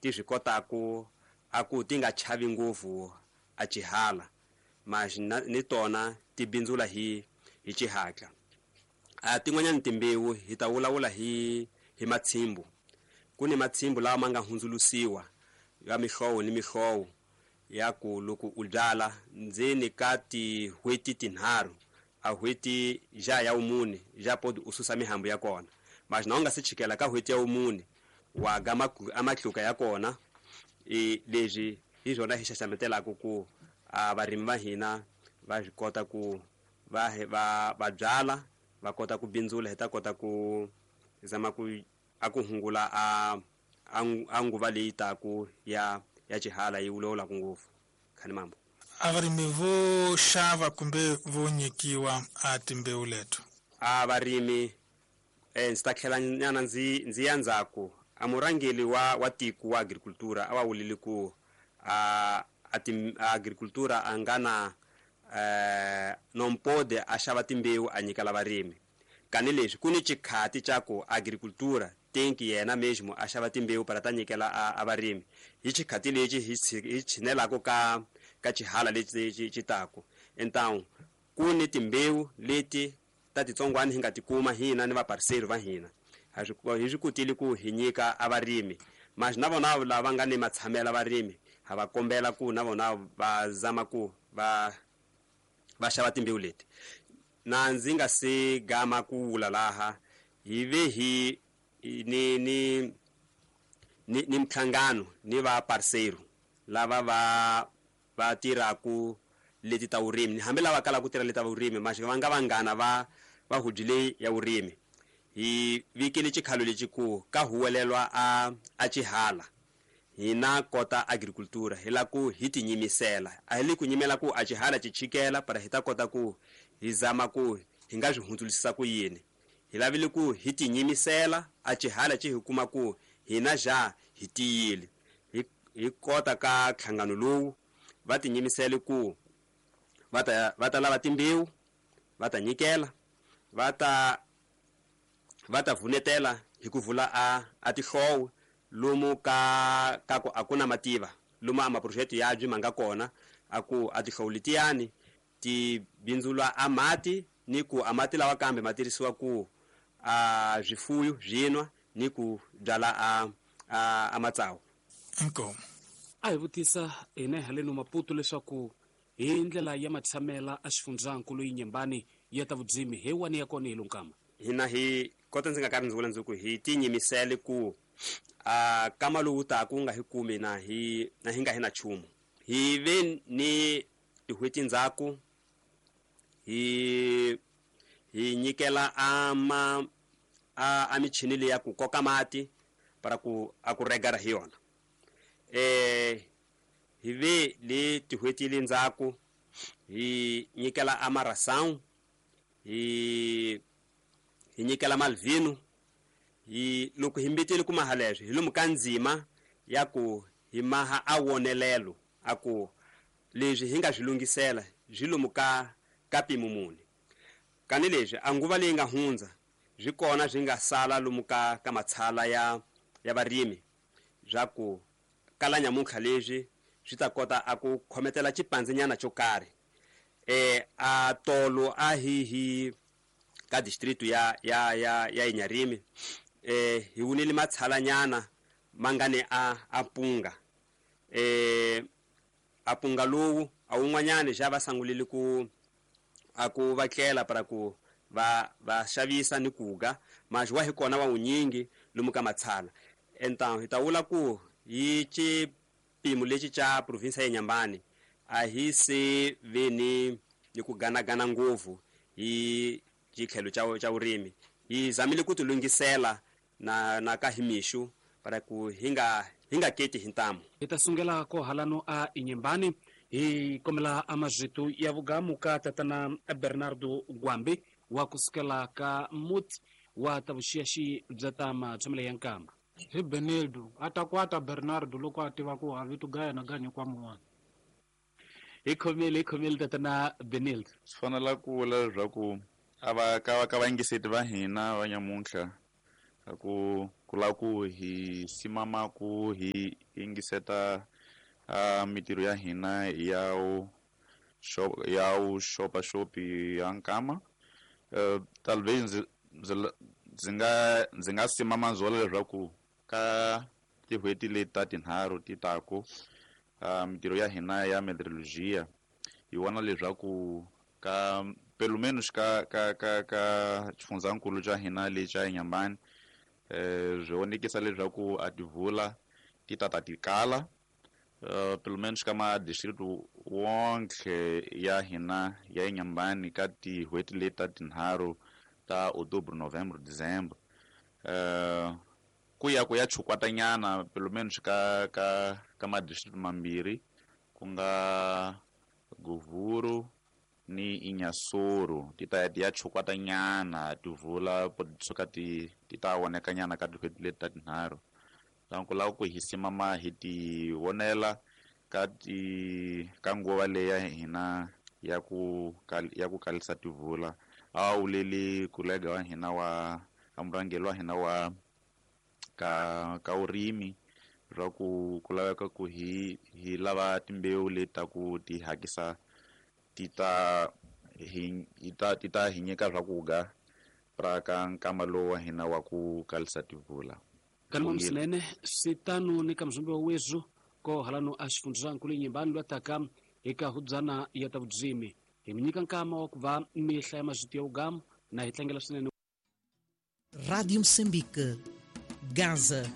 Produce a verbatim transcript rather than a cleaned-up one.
ti swi kotaku a ku ti nga chavi ngopfu a xihala, mas ni tona ti bindzula hi hi xihatla. A tin'wanyani timbewu hi ta vulavula hi hi matshimbu. Ku ni matshimbu lawa ma nga hundzulusiwa ya mihlovo ni mihlovo ya ku loko u byala ndzeni ka tin'hweti tinharhu a n'hweti ja ya vumune ja podi u susa mihambu ya kona, mas na u nga se chikela ka n'hweti ya vumune wa ga a matluka ya kona. E leswi hi swona hi xaxametelaka ku a varimi va hina va swi kota ku va va va byala va kota ku bindzula, hi ta kota ku zama ku a ku hungula a a nguva leyi taku ya ya xihala yi vulavulaka ngopfu. Khani mambo a varimi vo xava kumbe vo nyikiwa a timbewu leto a varimi eh ndzi ta tlhela nyana ndzi ndzi ya ndzhaku. A murhangeri wa wa tiko wa agricultura a va vulile ku a a agricultura a nga na eh nompode a xava timbewu a nyika la varimi. Kani leswi ku ni xikhati xa ku agricultura tenki yena mesmo a xava timbewu para ta nyikela a, a varimi hi xikhati lexi hi tshinelaka ka ka xihala lexi xi taku. Então ku ni timbewu leti ta titsongwana hi nga tikuma hina ni vapariseri va hina ha swi hi swi kotile ku hi nyika a varimi, mas na vona lava nga ni matshamela varimi ha va kombela ku na vona va zama ku va va xava timbewu leti. Na ndzi nga se gama ku vula laha hi ve hi ni ni ni ni mhlangano ni va parceiro lava va va tirhaku leti ta vurimi, hambi lava kalaka ku tirha leti ta vurimi mas va nga vanghana va va hujile ya vurimi. Hi vikile xikhalo lexi ku ka huwelelwa a a xihala hina kota agricultura hi la ku hi tinyimisela, a hi le ku nyimela ku a xihala xi chikela para hi ta kota ku hi zama ku hi nga swi hundzulisisa ku yini. Hi lavile ku hi tinyimisela a xihala xi hi kuma ku hina ja hi tiyile hi hi kota ka nhlangano lowu va tinyimisele ku va ta va ta lava timbewu va ta nyikela va ta va ta vunetela hi ku vula a a tihlowo lomu ka ka ku a ku na mativa lomu a maproject ya byi ma nga kona a ku a tihlowo letiyani ti bindzula a mati ni ku a mati lawa kambe ma tirhisiwa ku a swifuyo swi nwa ni ku byala a a, a matsawu. Inkomu a hi vutisa hina haleno Maputo leswaku hi ndlela ya matshamela a xifundzankulu Inhambane ya ta vudzimi he wani ya kona hi lonkama hina hi kota ndzi nga karhi ndzi vula ndzi ku hi tinyimisele ku a kama lowu taku nga hi kumi na hi na hi nga hi na nchumu. Hi ve ni tin'hweti ndzhaku hi hi nyikela ama a a michini leyi ya ku koka mati para ku a ku regara hi yona. Eh hi ve le tin'hweti le ndzhaku hi nyikela amaração hi hi nyikela malvino. Hi loko hi mbitile ku maha leswi hi lomu ka ndzima ya ku hi maha a wonelelo a ku leswi hi nga swi lunghisela swi lomu ka ka mpimo muni. Kani leswi a nguva leyi nga hundza swi kona swi nga sala lomu ka ka matshala ya ya varimi swa ku kala nyamuntlha leswi swi ta kota a ku khometela xipandzinyana xo karhi. Eh a tolo a hi hi ka district ya ya ya ya Inharime eh hi wunile matshalanyana ma nga ni a a punga eh a punga lowu a wun'wanyani xa va sangulile ku a ku va tlela para ku va va xavisa ni kuga mas wa hi kona wa wunyingi lomu ka matshala. Então hi ta vula ku hi xipimo lexi xa province ya Inhambane a hi se ve ni ni ku ganagana ngopfu hi xitlhelo xa xa vurimi. Hi zamile ku ti lunghisela na na ka himixu para ku hi nga hi nga keti hi ntamu. Hi ta sungela ko halano a Inhambane hi kombela a mazwitu ya vugamu ka tatana Bernardo Gwambi wa kusukela ka muti wa ta vuxiyaxi bya ta matshamelo ya nkamba. Hi Benildo a ta kwata Bernardo loko a tiva ku ha vito gaya na ganyi kwa mun'wana. Hi khomile hi khomile tatana Benildo. Swi fanele ku vula leswaku a va ka va ka vayingiseti va hina va nyamuntlha a ku Ku lava ku hi simama ku hi yingiseta uh, mitirho ya hina ya u ya u xopaxopi ya nkama. Uh, talvez ndzi ndzi ndzi nga ndzi nga simama ndzolo leswaku ka tin'hweti leti ta tinharhu ti taku uh, mitirho ya hina ya meteorologia hi vona leswaku ka pelo menos ka ka ka ka xifundzankulu xa hina lexi xa Inhambane eh swi vonekisa leswaku a tivula ti tata ti kala uh, pelo menos ka ma district wonke ya hina ya Inhambane ka tin'hweti leti ta tinharhu ta Outubro, Novembro, Dezembro uh, ku ya ku ya chukwatanyana pelo menos ka ka ka ma district mambirhi ku nga Govuro ni Inhassoro ti ta ya chukwatanyana tivula suka ti ti ta vonekanyana ka tin'hweti leti ta tinharhu. Donc ku lava ku hi simama hi ti vonela ka ti ka nguva leyi ya hina ya ku ya ku kalisa tivula. A wuleli kolega wa hina wa murhangeri wa hina wa ka ka urimi swa ku ku laveka ku hi hi lava timbewu leti ta ku ti hakisa ti ta hi ta ti ta hi nyika swakudya pra ka nkama lowu wa hina wa ku kalisa tivula. Kanuma msinene sitano ni kamzumbe wa wezu ko halano a xifundzankulu Inhambane lwataka eka hudzana ya ta vudzimi hi mi nyika nkama wa ku va mi hlaya mazwiti ya ugamu na hi tlangela swinene. Rádio Moçambique, Gaza.